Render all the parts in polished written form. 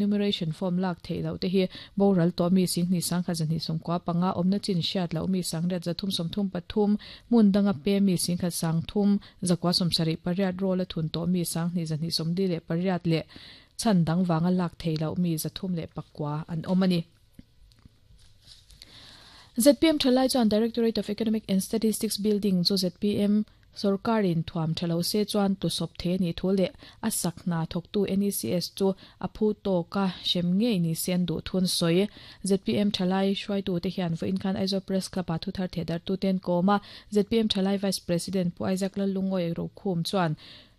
Enumeration form lak theih loh te hi boral tawh mi Singhnih sangkhat zahnih sawmkua panga awmna chin hriat loh mi sangriat zathum sawmthum pathum hmun danga pe mi Singkhat sangthum zakua sawmsarih pariat roll a thun tawh mi Sanghnih zahnih sawmli leh pariat leh chhan dang vanga lak theih loh mi zathum leh pakua an awm a ni. Zpm thalai chuan Directorate of Economic and Statistics building chu zpm Sorkarin thuam tha lo se chuan tusawp thei a nih thu leh a sak hna thawktu NECS chu a phu tawka hrem ngei ni se an duh thun sawi. Zpm thalai hruaitute hian vawiin khan Aizawl Press Club-ah thuthar thehdarhtute an kawm a, zpm thalai Vice President Pu Isaac Lallungawi Rokhum chuan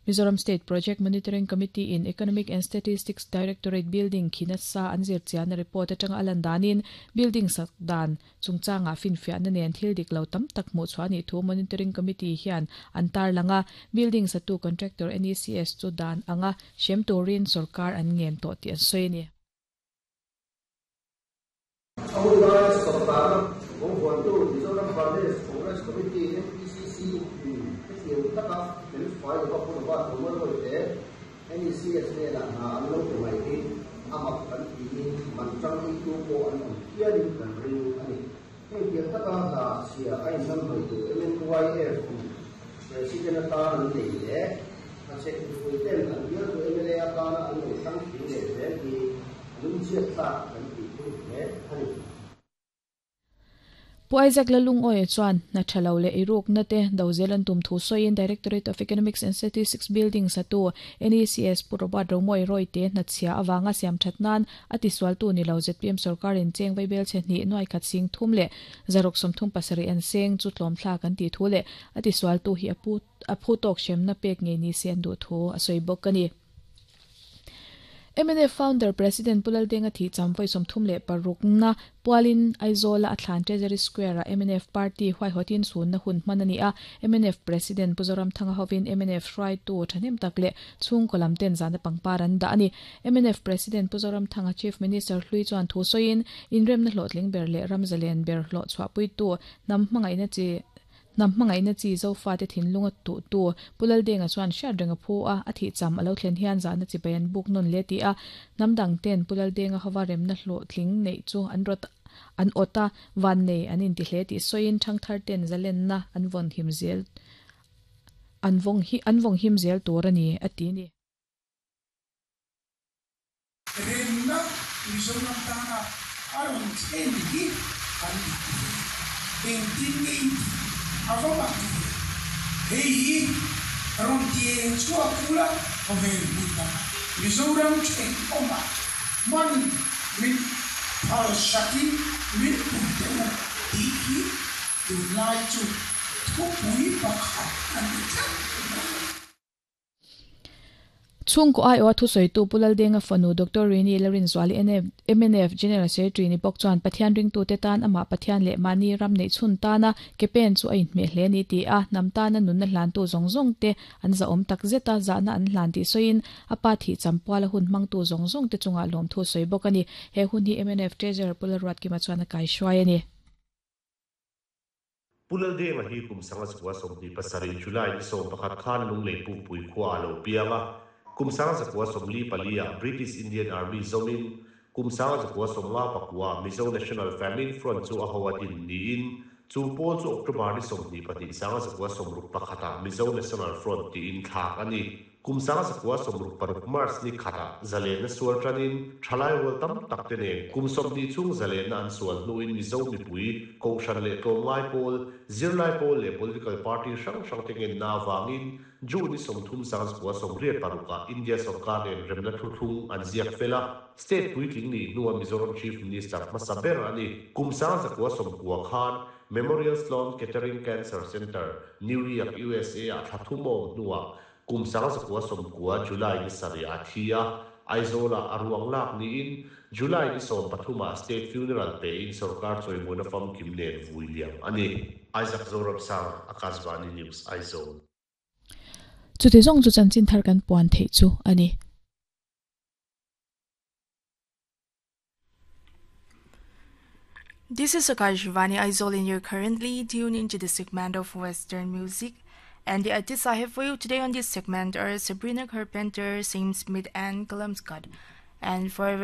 Mizoram State Project Monitoring Committee in Economic and Statistics Directorate building khi nasa an zir chiahna report atanga a lan danin building sak dan chungchangah finfiahna nen thil dik lo tam tak hmuh chhuah a nih thu Monitoring Committee hian an tarlang a, building satu contractor NECS chu dan anga hrem turin sorkar an ngen tawh tih an sawi a ni. A hun laia sorkar kawnghuantu Mizoram Pradesh Congress Committee, MPCC, in hetiang taka felfai lova Pu Robert Romaroy te NECS hnenah hna an lo pe mai hi a mak kan tiin man tang eitu pawh an awm hialin kan ring a ni. Heng tiang taka hna chhia a inhnamhnawih tur MNYF in President atan an nei leh hachhek mipui ten an bialtu mla atana an lo thlang tling leh zel hi lungchhiat tlak kan tih thung hle a ni. Pu Isaac Lalungawia chuan hna tha lo leh eirukna te do zel an tum thu sawiin Directorate of Economics and Statistics Building satu NECS Pu Robert Romawi Royte hna chhia avanga siam that nan a tisualtu ni lo zpm sorkarin cheng vaibel chhe hnih nuai khat sing thum leh zaruk sawmthum pasarih an seng chu tlawmthlak an tih thu leh a tisualtu hi a phu tawk hremna pek ngei ni se an duh thu a sawi bawk a ni. Mnf Founder President Pu Laldenga thih cham vawi 36 na pualin Aizawl-a a thlan Treasury Square-ah mnf Party huaihawtin chhunna hun hman a ni a. Mnf President Pu Zoramthanga hovin mnf hruaitu thahnem tak leh chhungkaw lam ten zahna pangpar an dah a ni. Mnf President Pu Zoramthanga Chief Minister hlui chuan thu sawiin, Inremna hlawhtling ber leh ram zalen ber hlawh chhuahpuitu hnam hmangaihna chi Hnam hmangaihna chi Zofate thinlunga tuhtu Pu Laldenga chuan hriat reng a phu a, a thih cham a lo thlen hian zahna chibai an buk nawn hle tih a, hnam dang ten Pu Laldenga hova remna hlawhtling neih chu an rawt an awt a, vannei an inti hle tih sawiin thangthar ten zalenna an vawn him zel an vawng hi an vawng him zel tur a ni a ti a ni. Remna Mizoram tana a rawn thlen hi kan dik ve. Engtin nge in tih a va mak ve. Hei hi rawn ti eng chhuak ula khawvel hmun dangah Mizoram thenawmah hman min phalsakin min pui teh u tih hi tunlai chu thupui pakhat a ni tlat mai. Chhungkaw aiawha thusawitu Pu Laldenga fanu Doctor Rini Larinzuali mnf General Secretary ni bawk chuan Pathian ringtute tan amah Pathian leh mahni ram neih chhun tana ke pen chu a inhmeh hle a ni ti a, hnam tana nunna hlantu zawng zawng te an zahawm tak zet a, zahna an hlan tih sawiin a pa thih champuala hun hmangtu zawng zawng te chungah lawmthu sawi bawk a ni. He hun hi mnf Treasurer Pu Lalruatkima chuan a kaihruai a ni. Pu Laldenga hi kum sanga zakua 27 July ni 11 khan Lunglei Pukpui khua a lo piang a. Kum sanga zakua 44 ah British Indian Army zawmin kum sanga zakua 59 ah Mizo National Famine Front chu a ho a din niin chu pawl chu October ni 22 sanga zakua 61 ah Mizo National Front tiin thlak a ni. Kum 1966 March ni khatah zalenna sual tanin thalai rual tam tak te nen kum 20 chhung zalenna an sual hnuin Mizo mipui, Kohhran leh tlawmngai pawl, zirlai pawl leh political party hrang hrang te ngenna avangin June ni 30 1986 ah India sorkar nen remna thuthlung an ziak fel a, state puitling nih hnua Mizoram Chief Minister hmasa ber a ni. Kum 1990 khan Memorial Sloan Kettering Cancer Center, New York, USA ah thla thum a awm hnuah Kum 1990 July ni sarih a thi a, Aizawl-ah a ruang lak niin July ni 13 ah State Funeral pein sorkar chawimawina famkim nen vui liam a ni. Isaac Zoramsang, Akashvani News, Aizawl. Chuti zawng chu chanchin thar kan puan theih chu a ni. This is Akashvani Aizawl and you're currently tuned into the segment of Western music. And the artists I have for you today on this segment are Sabrina Carpenter, Sam Smith, and Callum Scott. And for